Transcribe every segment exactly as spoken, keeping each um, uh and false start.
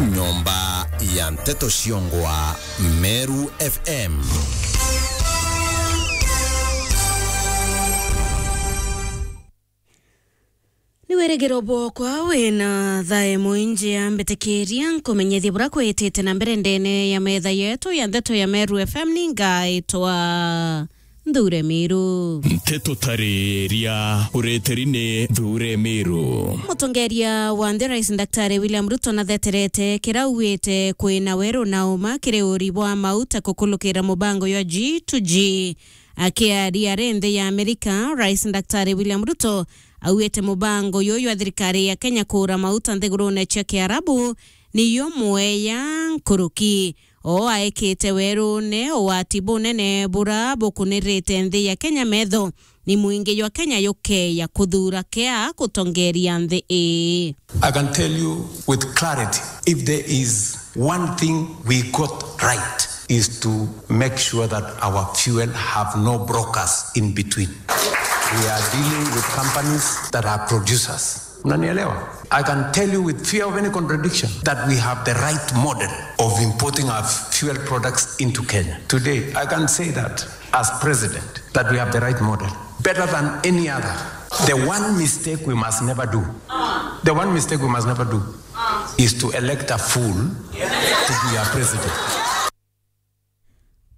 Nyomba ya nteto ciongwa Meru F M. Ni wirigiro bwokwa wina thae mwingi, ambitikiria nkumenyithie bura kwitite na mbere ndene ya metha yetu ya nteto ya Meru F M. Ni ngaitwa Nthure Miru. Nteto tariria ureteri ni Nthure Miru. Mutongeria wa nthi Rais Daktari William Ruto natheterete kiria augite kwina weru na uma kiri uri bwa mauta kukulukira mubango jwa G to G. Akiaria ari nthi ya Amerika, Rais Daktari William Ruto augite mubango juju jwa thirikari ya Kenya kuura mauta nthigurune cia Kiarabu niyo mweya nkuruki. O aekite werune ugwati bunene bura bukunirite nthi ya Kenya metho, ni mwingi jwa Kenya jukeya kuthuura kia gutongeria nthi ii. I can tell you with clarity, if there is one thing we got right, is to make sure that our fuel have no brokers in between. We are dealing with companies that are producers. Unanielewa? I can tell you with fear of any contradiction that we have the right model of importing our fuel products into Kenya. Today, I can say that as president, that we have the right model, better than any other. The one mistake we must never do, the one mistake we must never do is to elect a fool to be our president.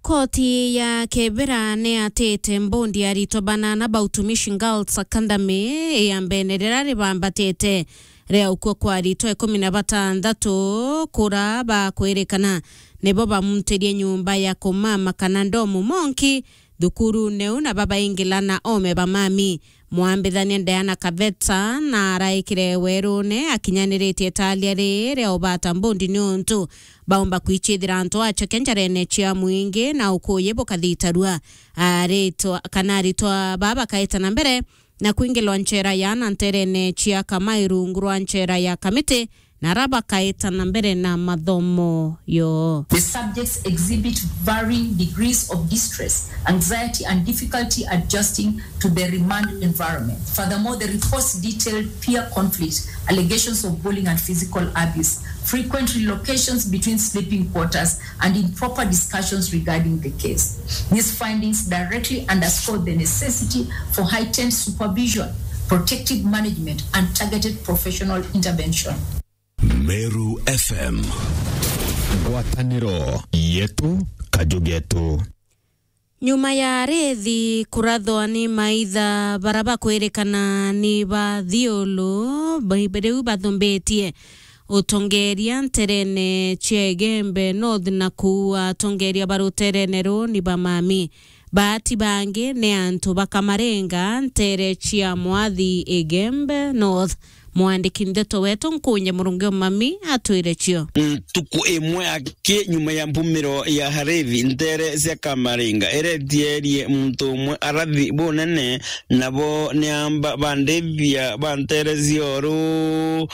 Koti ya Kibera ni yatite mbondi ya aritwa banana ba Utumishi Girls Academy ya mbene riria ribambatite ria ukua kwa aritwa ikumi na batanthatu kura bakwirikana nibo bamuntirie nyumba ya kumama kana ndomu monki thukurune u na babaingila na ome ba mami. Mwambithania Diana Kaveta na araikire werune akinyaniritie talia riri ria ubata mbondi niuntu baumba kwichithira antu achoke njarene cia mwingi na ukuyi bukathitarua. Aritwa kana aritwa baa bakaita na mbere na kwingilwa nchera ya na nterene cia Kamai rungu rwa nchera ya Kamiti, na ara bakaita na mbere na mathomo yo. The subjects exhibit varying degrees of distress, anxiety, and difficulty adjusting to the remand environment. Furthermore, the reports detailed peer conflict, allegations of bullying and physical abuse, frequent relocations between sleeping quarters, and improper discussions regarding the case. These findings directly underscore the necessity for heightened supervision, protective management, and targeted professional intervention. Meru F M. Ngwataniro yetu, kaju getu. Nyuma ya arithi kurathwa ni maitha bara bakwirikana ni ba Thiulu, ba-, riu bathumbitie utongeria nterene cia Igembe North na kuua atongeria ba ruterene ruu ni ba mami. Baati bangi ni antu ba Kamaringa, ntere cia Mwathi Igembe North. Mwandiki ndeto wetu Nkunje Murungi Omami atwire cio. Ntuku imwe aki nyuma ya mpumiro ya harithi, ntere cia Kamaringa iretierie muntu umwe arathi bunene, nabo ni amba bandithia ba ntere cia uru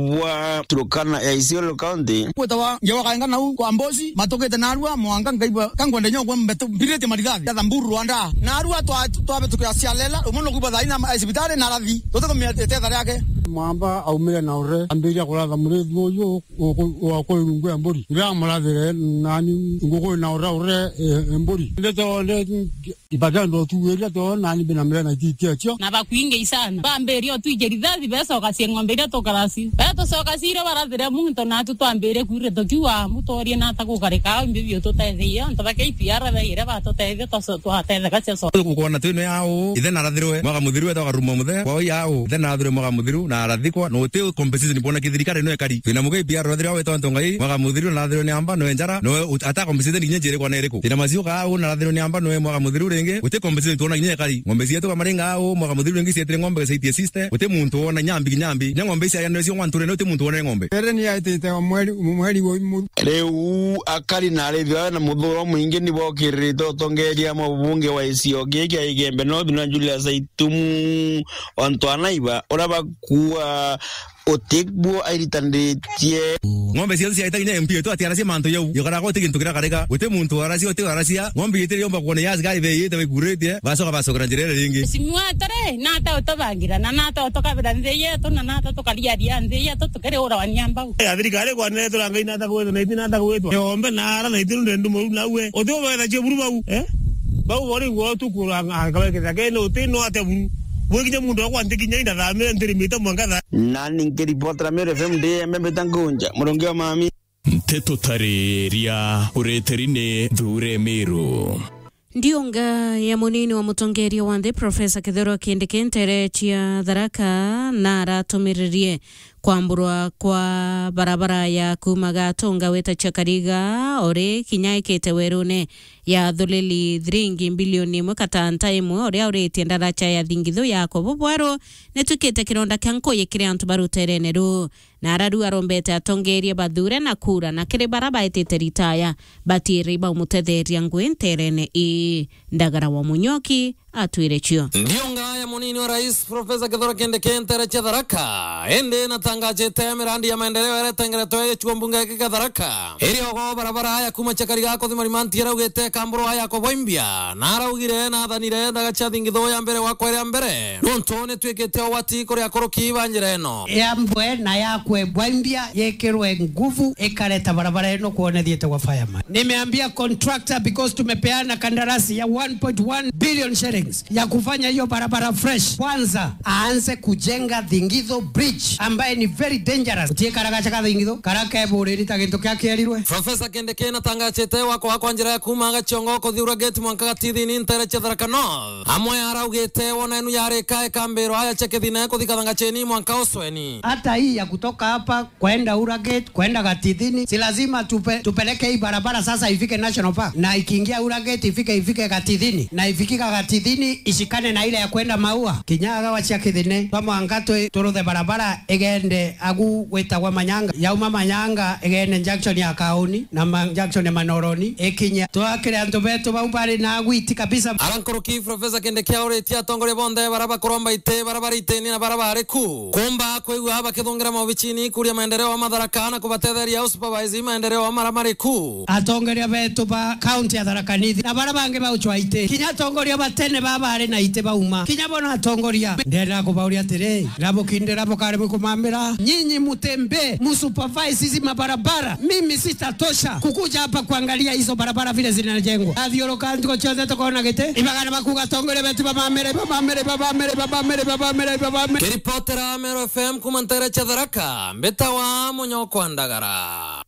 bwa Turkana ya Isiolo County. Kwitawa ngewa kaenga nau kwa Mbosi, matukite narua mwanka ngaigua kangwende nyogwa mbetu mbirite marithathi ya Thamburu Rwanda. Narua twa-, twabetukira Sialela, umwe nukuigua thaina e cibitari na arathi. Tutikumenya itetha riake. Mwamba aumire na ure, ambiria kuratha murithi uyu uku-, wa kwi rungu ya mburi. Iria amurathire nani nguku na ure ure, e, e, mburi. Ndeto nde ibagendo tuwiria to nani bina mire na ititia cio. Na bakwingi isana. Bambiria otwije rithathi, becoka cie ng'ombe iria tukarasi. Betucoka cire barathire muntu natu twambire kwire tukiuga mutoorie nata gukarika au imbi biu tutetheie. Antu ba K P R baire batutethia twaco-, twatetheka cia co-. Gukona twino yao, ithe narathirwe, mwaka muthiru etwa karuma muthe, kwa yao, ithe narathirwe mwaka muthiru, na arathikwa, no uti compensation bwona kithirikari no ekari. Twina mugai P R arathirwe awetwa antu ngai, mwaka muthiru narathirwe ni amba, no enjara, no u-, ata compensation kinya njiri kwa na iriku. Twina macio ka au narathirwe ni amba, no mwaka muthiru ringi, uti compensation twona kinya ekari. Ng'ombe cietu kamaringa au, mwaka muthiru ringi cietire ng'ombe gacaitie sister, uti muntu wona nyambi kinyambi. Nya ng'ombe ici ayanire cio ng'wanture, no uti muntu wona ng'ombe. Ere ni aitite o mweri, mweri wa imuru. Riu akari na arithi bawe na muthuro mwingi ni bokiririte utongeria mwa mubunge wa gicigo giki kia Igembe North na Julius Aitumu Onto Anaiba, uria bakuua Utiguo airitaniritie. Ng'ombe cionthe ciaita kinya M P yetu atiaracia mantu jau. Yokaraga uti gintu kirakarika. Uti muntu waracia, uti waracia. Ng'ombe yetu yomba kuona ya askari beyite baikuritie. Bacoka bacokera njira iria ringi. Mheshimiwa atari, nata utubangira, na nata utukabira nthi yetu, na nata tukariaria nthi yetu, tukiri urawania mbau. Ya thirikari kwanire turangai nata gwitwa, na iti nata gwitwa. Yombe na ara na iti ndendu muru nawe. Uti ubetha cia buru bau, eh? Bau bori gwo tu kuranga, akabeketha kene uti no ate buru. Bwikinya muntu akwa ntikinya indathamire ntirimite mwanka tha. Nani nkiripotera Meru F M ndi Embe mbita Ngunja, Murungi wa Mami. Nteto tariria ureteri ni Thure Meru. Ndiunga ya munini wa mutongeria wa nthi, Professor Kithure Kindiki, ntere cia Tharaka, na aratumiririe kwamburwa kwa barabara ya kuuma Gatunga wita Chakariga, ori kinya ikite werune ya thulili thiringi mbilioni imwe katanta imwe, uria uritie ndaraca ya thingithu ya Kobo Bweru, nitwikite kironda kia nkuyi kiri antu ba ruterene ruu. Na araru arombete atongeria bathure na kura, na kiri bara baitite ritaya, batiiri baumutetheria ngui nterene ii. Ndagara wa Munyoki atwire cio. Ndiunga ya munini wa rais, Professor Kithure Kindiki, ntere cia Tharaka, indi natangajite mirandi ya maendeleo iria itengeretwe gicigo mbunge giki kia Tharaka. Iri ogo barabara ya kuuma Chakariga kuthi Marimanti iraugite kamburwa ya Kobo Imbia, na araugire nathanire ndaga cia thingithu ya mbere gwakwa iria mbere, nontu nitwikite ugwati kuri akuruki ba njira ino. Yambwe na yakwe Bwaimbia yekirwe nguvu, ikareta barabara ino kwona thiete gwa fireman. Nimeambia contractor, because tumepeana kandarasi ya one point one billion shillings ya kufanya hiyo barabara fresh. Kwanza, aanze kujenga Thingitho Bridge, ambaye ni very dangerous. Utie kara gacha ka Thingitho, kara keburiri ta gintu kia kierirwe. Professor Kindiki natangachite wako wakwa njira ya kuuma Gachiongo kuthi Ura Gate mwanka Gatithini ntere cia Tharaka North. Amwe araugite wona enu yarika ikambirwa aya cia Kithine kuthi Kathangacheni mwanka Usweni. Hata hii ya kutoka hapa kwenda Ura Gate, kwenda Gatithini, si lazima tupe-, tupeleke hii barabara sasa ifike National Park, na ikiingia Ura Gate ifike, ifike Gatithini, na ifikika Gatithini ishikane na ile ya kwenda Maua. Kinya agawa cia Kithine, twa mwanka twi-, turuthe barabara igende agu gwitagwa Manyanga, yauma Manyanga igende junction ya Kauni, na ma-, junction ya Manoroni ikinya. Twakire antu betu bau bari na agwiti kabisa. Ara nkuruki Professor Kindiki auritie atongoria bonthe bara bakuromba iti, bara bari itini na bara bari ku, kumba kwigua bakithungira maobicini kuria maendeleo wa Matharaka na kubatetheria usupervise maendeleo wa mara mari ku. Atongoria betu ba kaunti ya Tharaka Nithi na bara bangi bauchwa iti, kinya atongoria batene ba bari na iti bauma, kinya bona atongoria. Ndenda kubauria atiri, rabukindira bukaremwe kumamira, nyinyi mutembe, musupervise hizi mabarabara. Mimi sitatosha kukuja hapa kuangalia hizo barabara vile zinajengwa. Athiuruka ntuku cionthe tukona giti, ibagana bakuga atongoria betu bamamire, bamamire, bamamire, bamamire, bamamire, bamamire. Kiripotera Meru F M kuma ntere cia Tharaka, mbitawa Munyokwa Ndagara.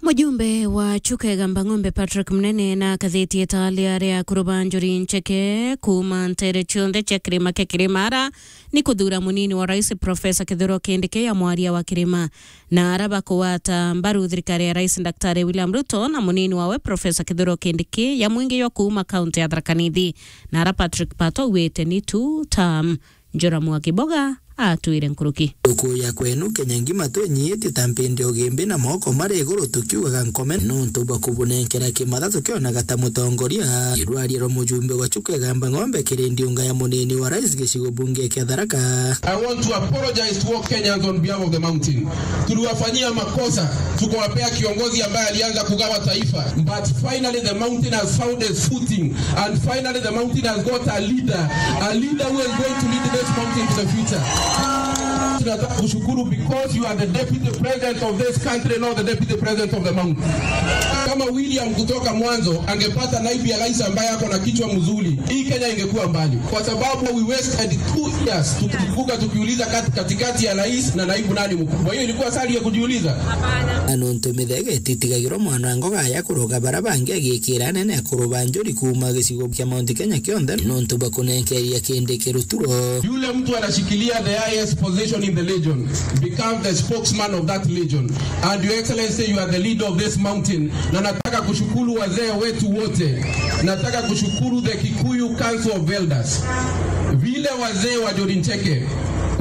Mujumbe wa Chuka Igamba Ng'ombe Patrick Munene na akathetie italia ria kuruba njuri ncheke kuma ntere cionthe cia kirima kia Kirimara ni kuthuura munini wa rais Professor Kithure Kindiki ya mwaria wa kirima. Na ara bakugwata mbaru thirikari ya rais Daktari William Ruto na munini wawe Professor Kithure Kindiki ya mwingi jwa kuuma kaunti ya Tharaka Nithi. Na ara Patrick Pato augite ni two term. Njora Mwakiboga atwire nkuruki. Ukuya kwenu Kenya ngima twenyiitie ta mpindi ugimbi na moko mari iguru tukiugaga nkome nontu bwa kubunenkera kimatha tukionaga ta mutongoria. Irwaria rwa mujumbe wa Chuka Igamba Ng'ombe kiri ndiunga ya munini wa rais gicigo bunge kia Tharaka. I want to apologize to all Kenyans on behalf of the mountain. Tuliwafanyia makosa, tukawapea kiongozi ambaye alianza kugawa taifa. But finally the mountain has found its footing. And finally, the mountain has got a leader, a leader who is going to lead this mountain to the future. Tunataka kushukuru because you are the deputy president of this country, not the deputy president of the mountain. Kama William kutoka mwanzo angepata naibu ya rais ambaye ako na kichwa mzuri, hii Kenya ingekuwa mbali, kwa sababu we wasted two years tukivuka tukiuliza kat-, katikati ya rais na naibu nani mkubwa. Hiyo ilikuwa swali ya kujiuliza? Na nontu mithege ititigagirwa mwana ngoga ya kuroga bara bangi agikira anene a kuruba njuri kuuma gicigo kia Mount Kenya kionthe nontu bwa kunenkeria Kindiki ruturo. Yule mtu anashikilia the highest position in the legion becomes the spokesman of that legion. And Your Excellency, you are the leader of this mountain. Na nataka kushukuru wazee wetu wote. Nataka kushukuru the Kikuyu Council of Elders. Vile wazee wa Njuri Ncheke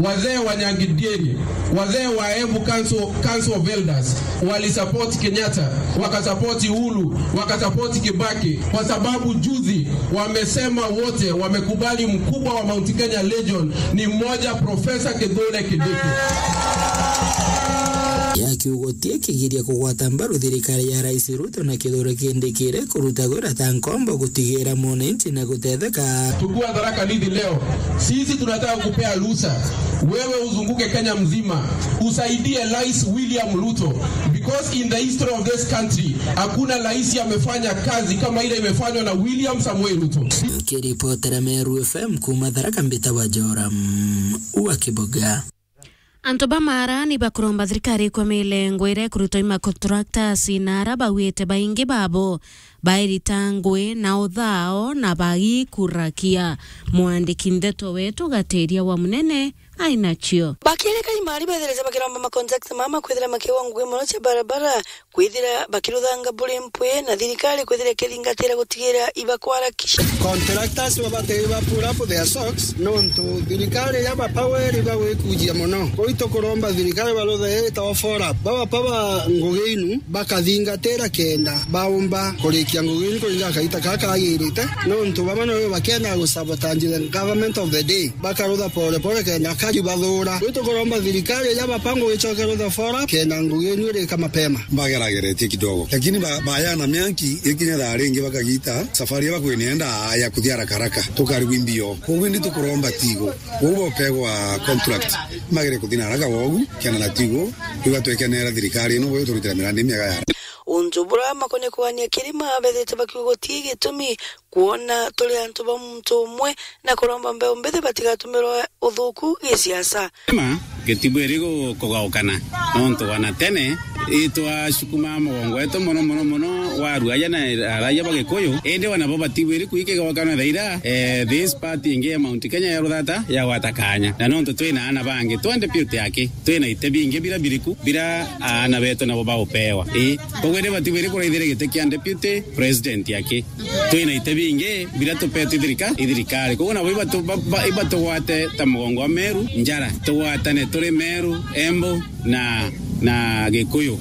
Wazee wa Nyangidieri, wazee wa Embu Council, Council of Elders walisupport Kenyatta, wakasupport Uhuru, wakasupport Kibaki, kwa sababu juzi wamesema wote wamekubali mkubwa wa Mount Kenya Legion ni mmoja, Professor Kithure Kindiki. Ya kiugo tie kigiria kugwata mbaru thirikari ya Rais Ruto na Kithure Kindiki iri kuruta gwira ta nkombo gutigira mwananchi na gutetheka. Tukiwa Tharaka Nithi leo, sisi tunataka kupea ruhusa wewe uzunguke Kenya mzima, usaidie Rais William Ruto, because in the history of this country, hakuna rais amefanya kazi kama ile imefanywa na William Samoei Ruto. Nkiripotera Meru F M kuuma Tharaka, mbita wa Joram wa Kiboga. Antu ba Mara ni bakuromba thirikari kwa milengo iria ikurutwa i macontractors na ara bauite baingi babo bairita ngui na uthao na bagikurakia. Mwandiki ndeto wetu Gatiria wa Munene ainacio. Bakirika imari betherete bakiromba macontractors mama kwithira makiwa ngui mono cia barabara, kwithira bakiruthanga buri mpwi na thirikari kwithira ikithingatira gutigira ibakwarakisha. Contractors babatiri ba pull up their socks, nontu thirikari ya bapaweri bagwikujia mono. Kuu tukuromba thirikari baruthe itawa fora. Baba paba ngugi inu bakathingatira kenda baumba kurikia ngugi inu kuringa kaita kaka kagirite, nontu baba noyo bakenda gusabotage the government of the day. Bakarutha pole pole kenda kari bathura. Kuu tukuromba thirikari ya bapango icoke rutha fora kenda ngugi inu irika mapema. Bagerageretie kidogo, lakini ba-, bayana mianki ikinya thaa ringi bakagita safari ya bakwinenda ya kuthia haraka haraka, tukarigwa imbio. Koguo indi tukuromba tigo, koguo bopegwa contract, magere kuthina haraka wogu, kenda na tigo, igatwekenera thirikari ino, boyo turutira mirandi miega ya. Untu bura makonie kugania kirima bethite bakiuga guti gitumi kwona turi antu ba muntu umwe na kuromba mbeu mbithi batigatumirwe uthuku gisiasa. Ma, gitibwiri gu-, kugaukana, nontu wana tene itwacukuma mugongo wetu mono, mono, mono, wa aruaja na araia ba Gikuyu, indi wana bo batibwiri kwikigaukana thaira, eh, this part ingi ya Mount Kenya ya ruthata yagwata kanya. Na nontu twina ana bangi, twende piu ti aki, twina ite bingi bira biriku, bira aana betu nabo baupewa. Ii, koguo indi batibwiri kuraithira giti kia deputy president aki. Twina ite bingi bira tupetwe i thirika-, i thirikari. Koguo nabo ibatu-, ba-, ba-, ibatugwate ta mugongo wa Meru njara. Tugwatane turi Meru, Embu na, na Gikuyu.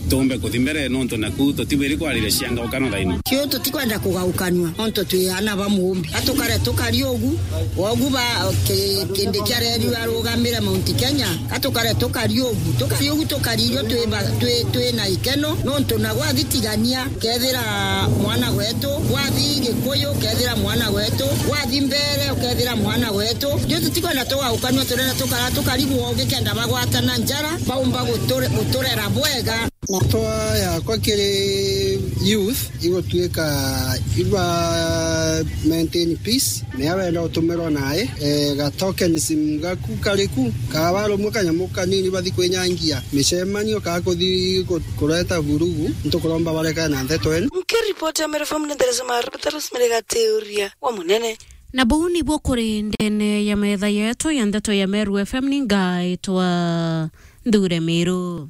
Tumbe kuthi mbere nontu naku tutibwiri kwariria ciangaukano thaino. Kiu tutikwenda kugaukanua, nontu twi ana ba muumbi. Atukare tukari ugu, wogu ba ki-, kindi kia reri arugamire Mount Kenya. Atukare tukari ugu, tukari ugu, tukari irio twi ba-, twi, twi na ikeno, nontu na gwathi tigania, kethira mwana gwetu, gwathi Gikuyu, kethira mwana gwetu, gwathi mbere, ukethira mwana gwetu. Riu tutikwenda tugaukanua, turenda tukara, tukarigwo gikenda bagwatana njara, baumba guture-, guturera bwega. Matwa yakwa kiri youth, igutwika iba maintain peace, mea wenda utumirwa nae, eh, ga tokenism gaku kariku, kaaba rumwe kanyamu kanini bathi kwinyangia micemanio, kaa kuthi ku-, kureta vurugu, ntukuromba barekane na nteto ino. Nkiripoti ya Meru F M ni Theresa Marubita Rosemary Gatiuria wa Munene. Na buu nibuo kuri ndene ya metha yetu ya ndeto ya Meru F M, ni ngaitwa Nthure Miru.